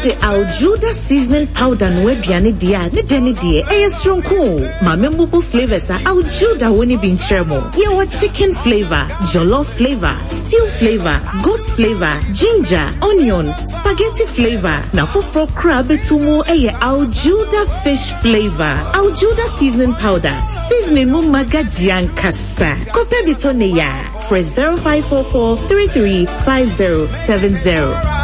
Wode Aljuda seasoning powder noa aduane deɛ a, ne dɛ ne deɛ, ɛyɛ soronko o. Ma memmubu flavours a Aljuda wɔ no bi nkyerɛ mo. Yɛwɔ chicken flavour, jollof flavour, stew flavour, goat flavour, ginger, onion, spaghetti flavour, na foforɔ koraa bɛto mu yɛ Aljuda fish flavour. Aljuda seasoning powder, seasoning mu ma gagye ankasa. Kɔpɛ bi tɔ ne ya. Frɛ 0544 33 5070.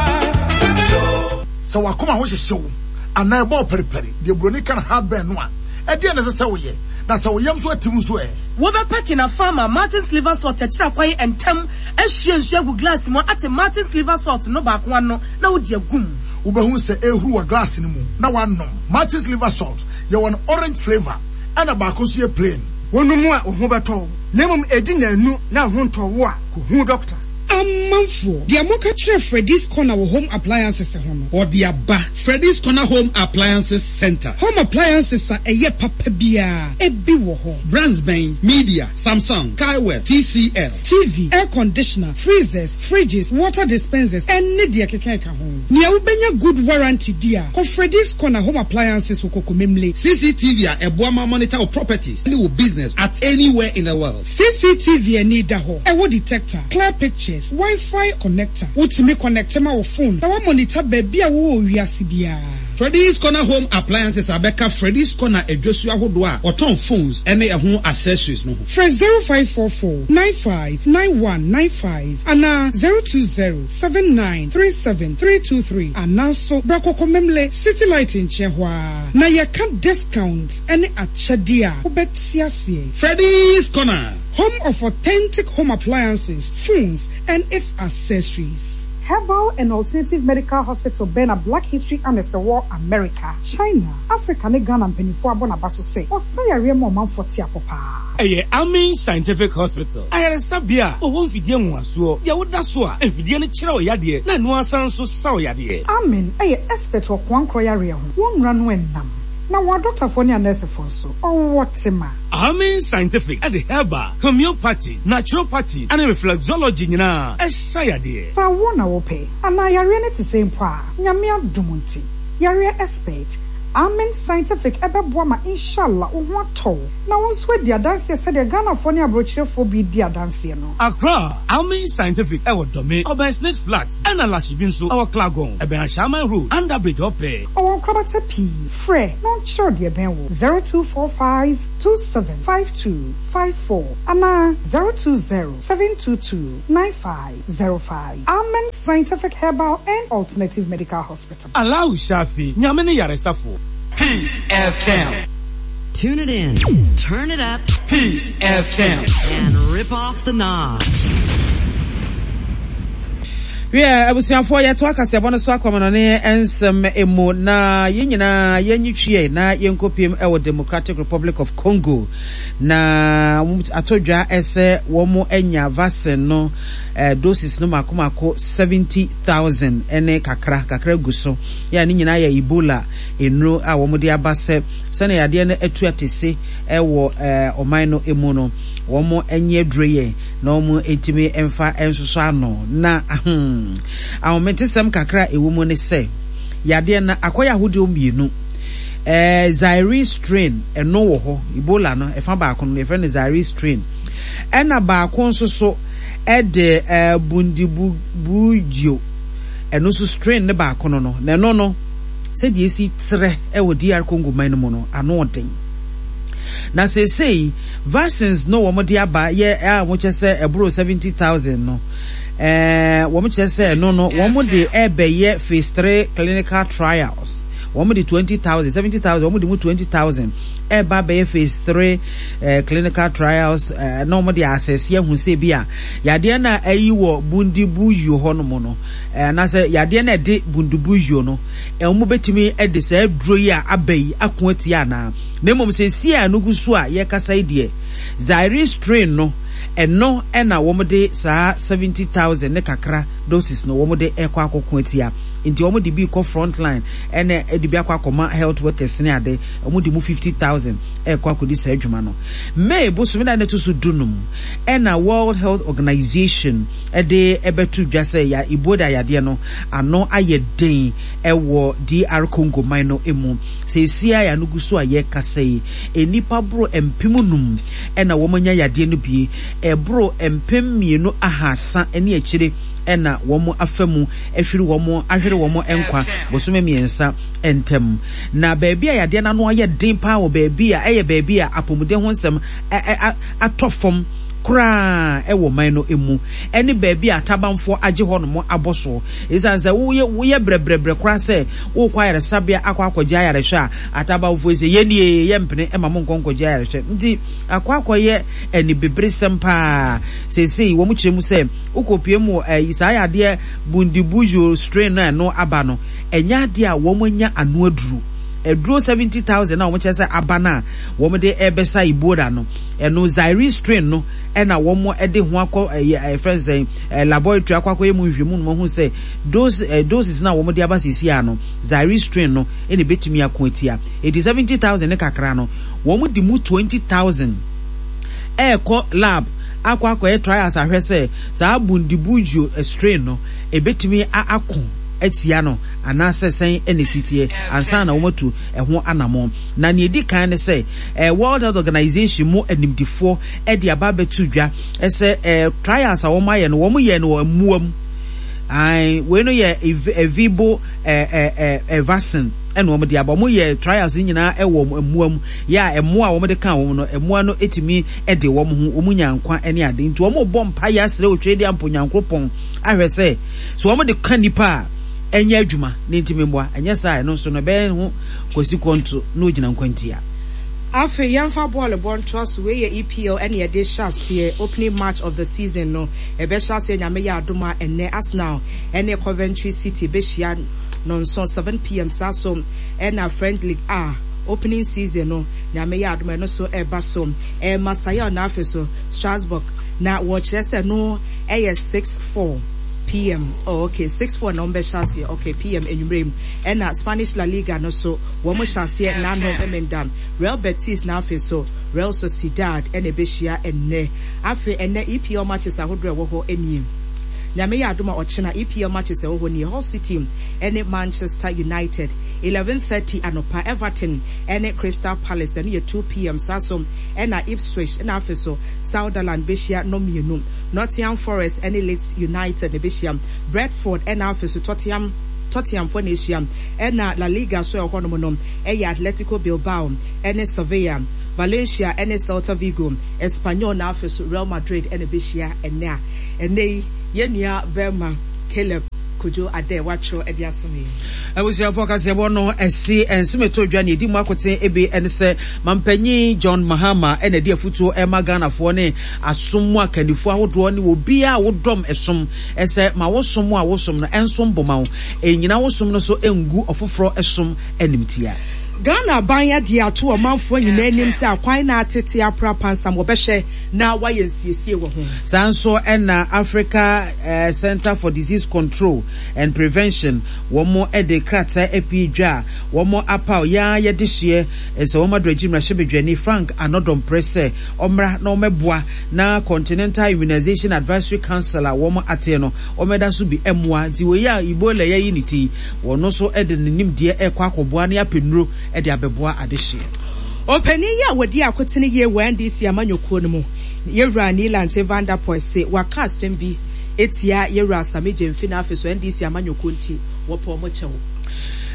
Sɛ w'akoma ho hyehye wo anaa ɛbɔ wo paripari, deɛ buroni ka no heartburn no a, ɛdeɛn na ɛsɛ sɛ woyɛ? Na sɛ wo yam nso atim nso ɛ? Wobɛpɛ Kinafa ama Martin's Liver Salt akyiri akwan ntɛm, ahwie nsuo agu glass mu ate Martin's Liver Salt no baako ano na wode agu mu. Wobɛhunu sɛ ɛrehuru wɔ glass no mu na woanom. Martin's Liver Salt, yɛwɔ no orange flavour ɛna baako nso yɛ plain. Wonom a wo ho bɛtɔ wo, na mmom edi nnanu na wo ho ntɔ wo a, kohu dɔkta. Amanfoɔ, deɛ moka kyerɛ Freddy's Corner wɔ Home Appliances ho no. Ɔde aba. Freddy's Corner Home Appliances Centre. Home appliances a ɛyɛ papa biara, ebi wɔ hɔ. Brands bɛn? Media, Samsung, Skyworth, TCL. TV, air conditioner, freezers, fridges, water dispensers, ɛne deɛ ɛkeka ɛka ho. Nea wobɛnya good warranty di a, kɔ Freddy's Corner Home Appliances wɔ Kokomemle. CCTV a ɛboa ma monitor wo properties ne wo business at anywhere in the world. CCTV ani da hɔ, ɛwɔ detector, clear pictures, Wi-Fi connector. Wotumi connecte ma wo phone na woamonitor baabi a wowɔ wɔ wiase biara. Freddy's Corner Home Appliances abɛka Freddy's Corner adwasu ahodoɔ a wɔtɔn phones ne ɛho accessories no ho. Frɛ 0544 95 9195 anaa 020 79 37 323 anaa nso bra Kɔkɔmemle City Light nkyɛn hɔ ara na yɛka discount ne akyɛdeɛ a wobɛte aseɛ. Freddy's Corner. Home of authentic home appliances, phones and its accessories. Herbal and Alternative Medical Hospital bɛn na Black History Annex wɔ America, China, Africa ne Ghana mpaninfoɔ abɔ n'aba so sɛ ɔsa yareɛ ma ɔmanfoɔ te apɔ paa. Ɛyɛ Amin Scientific Hospital, ayaresabea a wɔwɔ mfidie nwonwasoɔ, deɛ woda so a mfidie no kyerɛ wo yadeɛ na ɛno ara san nso sa wo yadeɛ. Amin yɛ expert wɔ koankorɔ yareɛ ho, wɔn nnura no nnam, na wɔn adɔktafoɔ ne anɛɛsefoɔ nso, wɔwɔ tema. Amin Scientific de herbal, homeopathy, naturopathy ne reflexology nyinaa sa yadeɛ. Sɛ awoɔ na wopɛ, anaa yareɛ no te sɛn mpo a, Nyame adom nti, yareɛ expert, Amen Scientific bɛboa ma Inshallah wo ho atɔ wo, na wo nso adi adanseɛ sɛdeɛ Ghanafoɔ ne abrokyerefoɔ bi redi adanseɛ no. Accra, Amen Scientific wɔ Dome, ɔbɛn Snit Flat, ɛna Lashibi nso wɔ Klagon, ɛbɛn Ashaiman Road, Under Bridge hɔ pɛɛ. Ɔwɔ nkorabata pii, frɛ na ɔnkyerɛ wo deɛ ɛbɛn wo, 0245 2752 54 anaa 020 722 9505. Amen Scientific Herbal and Alternative Medical Hospital. Allahu Shafi, Nyame ne yaresafo. Peace FM. Tune it in, turn it up. Peace FM. And rip off the knob. Wiɛ, abusuafoɔ, yɛtoa kaseɛbɔ no so akɔmɔnɔne nsɛm mu, na yɛn nyinaa yɛnyi twiɛ na yɛnkɔpiem wɔ Democratic Republic of Congo, na atɔ dwa sɛ wɔn anya vaccine no eh, doses no mako mako 70,000 ne kakra kakra gu so, yɛ a ne nyinaa yɛ Ebola nnuro a wɔn de aba sɛ sɛnea yadeɛ no atu atese wɔ eh, ɔman no mu no, wɔn nyɛ aduro yɛ na wɔntumi mfa nsosɔ ano. Na ahem, ahometesɛm kakra a ɛwɔ mu ne sɛ, yadeɛ no akɔyɛ ahodoɔ mmienu. Eh, Zaire strain, ɛno wɔ hɔ. Ebola no, ɛfa baako no, yɛfrɛ no Zaire strain. Ɛna baako nso so ɛde eh, Bundibugyo, ɛno nso strain ne baako no no. Na ɛno no, sɛdeɛ ɛsi trɛ ɛwɔ DR Congo man no mu no, ano ɔden. Na seesei vaccines no wɔn de aba yɛ a wɔn kyerɛ sɛ ɛboro 70,000 no, ɛɛ wɔn kyerɛ sɛ ɛno no wɔn de ɛbɛyɛ phase 3 clinical trials. Wɔn de 20,000, 70,000, wɔn de mu 20,000 ɛba abɛyɛ phase 3 eh, clinical trials eh, na wɔn de asɛse ahu sɛ bi a yadeɛ no a ayi wɔ Bundibugyo hɔ nom no eh, anaasɛ yadeɛ no a ɛde Bundibugyo no Wɔn bɛtumi de saa aduro yi a aba yi ako atia anaa? Na mmom seesei a ɛno gu so a yɛrekasa yi deɛ, Zaire strain no Ɛno na wɔde saa 70,000 ne kakra doses no wɔde rekɔ akɔko atia. Nti wɔde bi rekɔ front line ɛna ɛde bi akɔ akɔma health workers ne ade. Wɔde mu 50,000 rekɔ akɔdi saa adwuma no. May bosome da ne to so dunum ɛna World Health Organization de ɛbɛto dwa sɛ ya Ebola yadeɛ no ano ayɛ den ɛwɔ DR Congo man no mu. Seesei a ano gu so a yɛrekasa yi, nnipa boro 5,000 na wɔanya yadeɛ no bi, ɛboro 2300 ne akyire na wɔafa mu ahwiri wɔn ahwere wɔn nkwa bosome mmiɛnsa ntam. Na baabi a yadeɛ no ano ayɛ den paa wɔ baabi a ɛyɛ baabi a apɔmuden ho nsɛm atɔ fam koraa wɔ man no mu ne baabi a atabanfoɔ agye hɔnom abɔ soɔ. Esiane sɛ woyɛ woyɛ brɛbrɛbrɛ koraa sɛ worekɔ ayaresabea akɔ akɔgye ayarehwɛ a, atabanfoɔ yi sɛ yɛn nie yɛmpene ma monkɔ nkɔgye ayarehwɛ. Nti akɔ akɔyɛ anibeberesɛm paa. Seesei wɔn kyerɛ mu sɛ wokɔpue mu wɔ saa yadeɛ Bundibugyo strain no a ɛno aba no, ɛnyɛ adeɛ a wɔn anya ano aduro. Aduro 70,000 a wɔn kyerɛ sɛ aba no a wɔn de ɛrebɛsa Ebola no, ɛno Zaire strain no ɛna wɔn de ho akɔ ɛyɛ ɛfrɛ no sɛn laboratory akɔ akɔyɛ mu nhwehwɛmu no wɔn ahu sɛ dose doses no a wɔn de aba seesei ano Zaire strain no ɛna ebetumi ako atia. Eti 70,000 ne kakra no wɔn de mu 20,000 ɛrekɔ lab akɔ akɔyɛ trials ahwɛ sɛ saa Bundibugyo strain no ebetumi ako atia no anaasɛ sɛn na esi teɛ ansa na wɔatu ɛho anammɔn. Na nea edi kan ne sɛ World Health Organization mu animdefoɔ de aba abɛto dwa sɛ trials a wɔayɛ no, wɔyɛɛ no wɔ mmoa mu. Ae, wei no yɛ evibo vaccine ɛna wɔn de aba. Wɔn yɛ trials no nyinaa ɛwɔ mmoa mu. Yɛ a mmoa a wɔn de ka wɔn no, mmoa no etumi de wɔn ho, wɔn nya nkwa ne ade. Nti wɔn bɔ mpa yɛ asrɛ otwe de ampo Nyankoropɔn ahwɛ sɛ so wɔn de ka nipa a ɛnyɛ adwuma ne ntumi mmoa. Ɛnyɛ saa ɛno nso no ɛbɛyɛ ho kwasi kɔnto na ogyina nkwantia. Afei yɛmfa bɔɔl bɔ ntoa so, wei yɛ EPL ɛna yɛde hyɛ aseɛ, opening match of the season no ɛbɛhyɛ aseɛ Nyame yɛ adom a ɛnnɛ Arsenal ɛne Coventry City bɛhyia nɔnson, 7pm, saa so ɛna French Ligue A opening season no Nyame yɛ adom a ɛno so ɛba so, ɛyɛ Marseille na afei so Strasbourg na wɔkyerɛ sɛ ɛno ɛyɛ 6, 4 pm, oh ok 6, 4 na wɔbɛhyɛ aseɛ, ok pm anwummerɛ yi ɛna Spanish La Liga no so Wɔn hyɛ aseɛ nnanom Memenda, Real Betis na afei so Real Sociedad na ɛbɛhyia ɛnnɛ. Afei ɛnnɛ EPL matches ahodoɔ a ɛwɔ hɔ nie. Nyame yɛ adom a ɔkyena EPL matches a ɛwɔ hɔ nie, Hull City ne Manchester United 11:30 anɔpa, Everton ne Crystal Palace ɛno yɛ 2pm, saa so na Ipswich na afei so Sunderland bɛhyia nnɔmmienu, Nottingham Forest ne Leeds United na ɛbɛhyia, Brentford na afei so Tottenham Tottenhamfoɔ na ɛhyia. Ɛna La Liga so a ɛwɔ hɔnom no yɛ Atletico Bilbao ne Sevilla, Valencia ne Celta Vigo, Espanyol na afei so Real Madrid na ɛbɛhyia ɛnnɛ a ɛnnɛ yi yɛn nua barima Caleb Kojo Adeh watwerɛ de asom yɛn. Abusuafoɔ kaseɛbɔ no ɛse nsem ɛtɔ dwa nea ɛdi mu akoten bi ne sɛ Mampanyin John Mahama na ɛde afutuo rema Ghanafoɔ ne asom mu akannifoɔ ahodoɔ ne obiara a wodɔm ɛsom sɛ ma wo som a wosom no ɛnsom bo ma wo. Nnyina wo som no so ngu ɔfoforɔ som animtia. Ghana aban de ato ɔmanfoɔ nyinaa anim sɛ akwan no atete apra pansam wɔbɛhwɛ na wɔayɛ nsiesie wɔ ho. Saa nso na Africa Centre for Disease Control and Prevention wɔn de krataa apue dwa a wɔn apaw yɛn ara yɛ dehyeɛ sɛ wɔn adoagyi mmarahyɛbadwani Frank Anɔdɔmprɛ sɛ ɔmmra na ɔmmɛboa na Continental Immunization Advisory Council a wɔn ateɛ no Wɔda so bi mmoa nti wei a Ebola yi ayi ne ti yi, wɔno nso de ne nimdeɛ rekɔ akɔboa ne apɛ nnuro de abɛboa adehyeɛ. Ɔpanin yi a wɔdi akotene yie wɔ NDC amanyɔkuo no mu, Yɛwura Nii Lante Vanderpuye se waka asɛm bi atia Yɛwura Sammy Gyamfi na afei so NDC amanyɔkuo nti wɔpɛ wɔn kyɛw.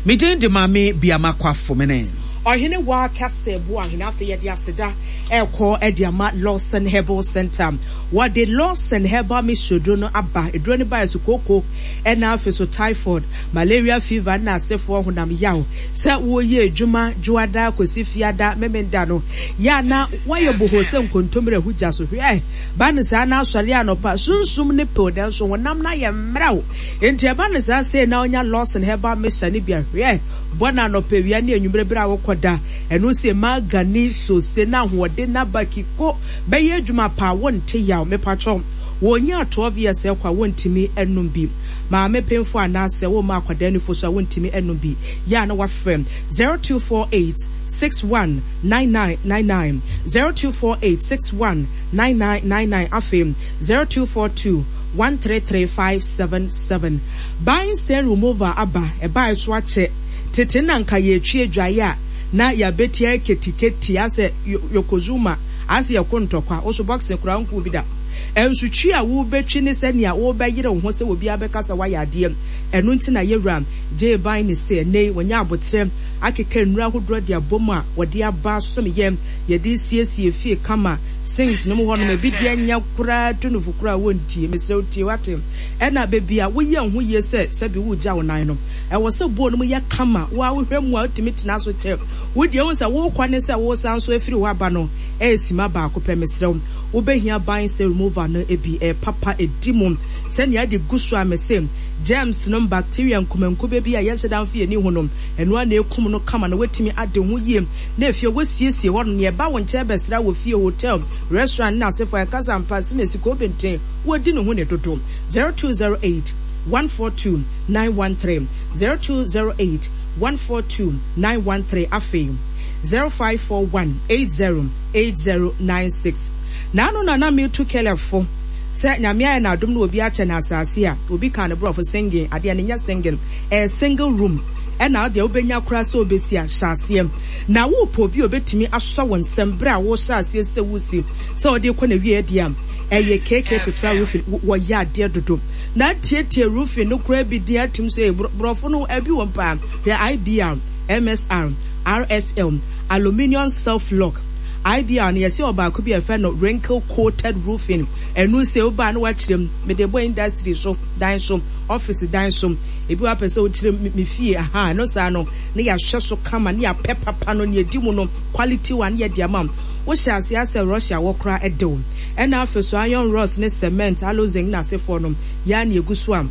Me din de Maame Biama Kwafo Mene. Ɔhene Waa Kɛse Boahene. Afei yɛde aseda rekɔ de ama Lawson Herbal Centre. Wɔde Lawson Herbal Mixture duro no aba. Eduro no baeɛ so kooko ɛna afei so typhoid, malaria fever ɛna asefoɔ honam yaw. Sɛ woreyɛ adwuma Dwoada kɔsi Fiada, Memenda no, yɛ a na woayɛ bohoo sɛ nkontommire ahu gya so. Hwɛ! Ba no saa na asɔre anɔpa, sunsum no pew nanso honam no ayɛ mmerɛw. Enti ɛba no saa sei na wonya Lawson Herbal Mixture no bi a, hwɛ! Bɔ no anɔpa, awia ne anwummere bere a wokɔda. Ɛno sɛ magani sose na ahoɔden no aba kiko bɛyɛ adwuma paa wonte yaw. Mepakyɛw wɔnyaa 12 years ɛkɔ a wontumi nnom bi. Maame penfo anaasɛ woma akwadaa nufosu a wontumi nnom bi. Yɛ a na wafrɛ 0248 61 9999, 0248 61 9999 afei 0242 133 577. Buying stain removal aba, ɛbae so akyɛ. Tete na nka yɛretwi adwae a na yɛabɛti ayɛ ketiketi asɛ Yokozuma asɛ yɛko ntɔkwa, wo so boxing koraa wonkoo bi da. Ɛnso twi a wobɛtwi ne sɛnea wobɛyere wo ho sɛ obiara bɛka sɛ woayɛ adeɛ. Ɛno nti na yɛwura gyee ban ne sɛ ɛnnɛ yi wɔanya aboterɛ akeka nnuro ahodoɔ de abɔ mu a wɔde aba asom yɛn, yɛde resiesie fie kama, sinks no mu hɔnom ebi deɛ nyɛ koraa tu nufo koraa wontie, mesrɛ wo tie wate. Ɛna baabi a woyɛ wo ho yie sɛ sɛbi woregya wo nan no, ɛwɔ sɛ bowl no mu yɛ kama, wo ara wohwɛ mu a wotumi tena so kyɛ. Wo deɛ wohu sɛ worekɔ ne sɛ woresan nso afiri hɔ aba no ɛyɛ sima baako pɛ, mesrɛ wo wobɛhia ban sɛ remover no bi, ɛyɛ papa, ɛdi mu sɛnea ɛde gu so a mese germs nom, bacteria nkumankube bi a yɛnhyɛ da mfa yɛn ani hu no, ɛno ara na ɛkum no kama na woatumi ade ho yie na afie woasiesie hɔ nom, nea ɛba wo nkyɛn bɛsra wɔ fie, hotel, restaurant ne n'asefo a ɛkasa ampa, simesi, kobenten. Wɔdi ne ho ni dodo. 0208 142 913 0208 142 913 Afei 0541 80 80 96 Naano na na metu Caleb fo sɛ Nyame ayɛ no adom na obi akyɛ no asase a obi kaa no borɔfo singing adeɛ no nyɛ singing ɛyɛ single room ɛna wodeɛ wobɛnya koraa sɛ wobɛsi a hyɛ aseɛ na wopɛ obi a obɛtumi asɔ wo nsam berɛ a wohyɛ aseɛ sɛ wosi sɛ wode rekɔ n'awieɛ deɛ a ɛyɛ KK Petra Roofing wɔyɛ adeɛ dodo na atietie roofing no koraa bi din atum sɛ borɔfo no abi wɔm paa hwɛ IBR, MSR, RSL, Aluminium Self Lock IBR no yɛsɛ ɔbaako bi a yɛfrɛ no wrinkle coated roofing ɛno sɛ wobaa na wakyerɛ mu mede bɔ industry so dan so office dan so ebi wapɛ sɛ wokyerɛ me fie aha ɛno saa no na yɛahwɛ so kama ne yɛapɛ papa no ne yɛdi mu no quality one yɛde ama wo hyɛ aseɛ asɛ Russia wɔ koraa de wo. Ɛna afei so iron rods ne cement, aloe-zinc ne asefoɔ no, yɛa na yɛgu so a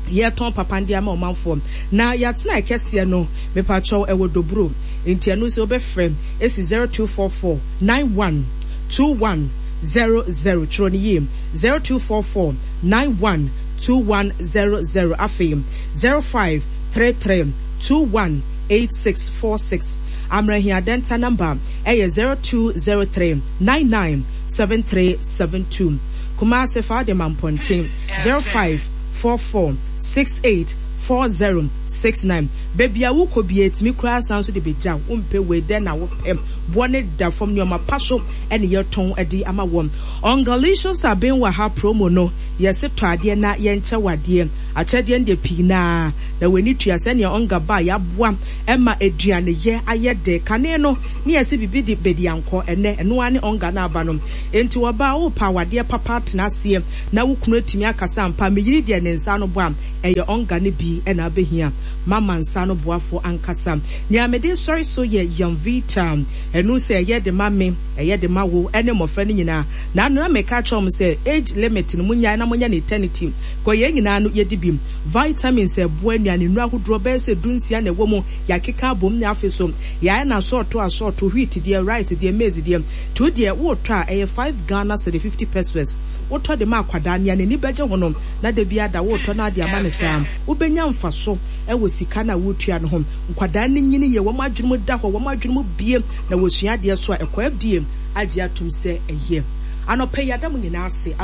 yɛtɔn papa no de ama ɔmanfoɔ. Na yɛatena kɛseɛ no, mepakyɛw ɛwɔ Doburo, nti ɛno nso wobɛfrɛ ɛsi 0244 91 21 00, twerɛ no yie, 0244 91 21 00, afei 0533 21 86 46. Amrahia Denta number ɛyɛ 0203 99 7372. Kumasi fa wode ma Mpɔnten 0544 68 4069. Baabi a wokɔ biara ɛtumi koraa san nso de bɛgya wo. Wompɛ wei dɛn na wopɛ? Boɔ no da fam nneɛma pa so ɛne yɛtɔn de ama wɔn. Ungalicious Aben wɔ ha promo no yɛse tɔ adeɛ na yɛnkyɛ wo adeɛ. Akyɛdeɛ no deɛ pii no ara na w'ani tua sɛdeɛ Onga baa yɛaboa ɛma aduaneyɛ ayɛ dɛ. Kane no, ne yɛse biribi de bediankɔ, ɛnnɛ, ɛno ara ne ɔnga no aba no. Enti ɔbaa, worepɛ awadeɛ papa atena aseɛ na wo kunu atumi akasa ampa, me yere deɛ ne nsa ano bɔ a, ɛyɛ ɔnga no bi na abɛhia. Mama nsa ano boafoɔ ankasa. Nea mede resɔre so yɛ Yamvita. Ɛno sɛ ɛyɛ de ma me, ɛyɛ de ma wo, ɛne mmɔfra no nyinaa. Naano na meka akyerɛ wɔn sɛ age limit no monnyae na monyɛ no eternity, kɔ yɛn nyinaa no yɛdi bi. Vitamins a ɛboa nnuane nnuru ahodoɔ bɛyɛ sɛ dunsia na ɛwɔ mu, yɛakeka abom na afei nso yɛayɛ no asɔɔto asɔɔto, wheat deɛ, rice deɛ, maize deɛ. Nti wo deɛ woretɔ a ɛyɛ 5 Ghana cedi 50 pesewas. Wotɔ de ma akwadaa, nea n'ani bɛgye ho no na da biara da woretɔ na ade ama no saa. Wobɛnya mfaso wɔ sika no a woretua no ho. Nkwadaa no nyini yie, wɔn adwene mu da hɔ, wɔn adwene mu bue na wɔsua adeɛ nso a ɛkɔ. FDA agye atom sɛ ɛyɛ. Anɔpa yi yɛada mo nyinaa ase.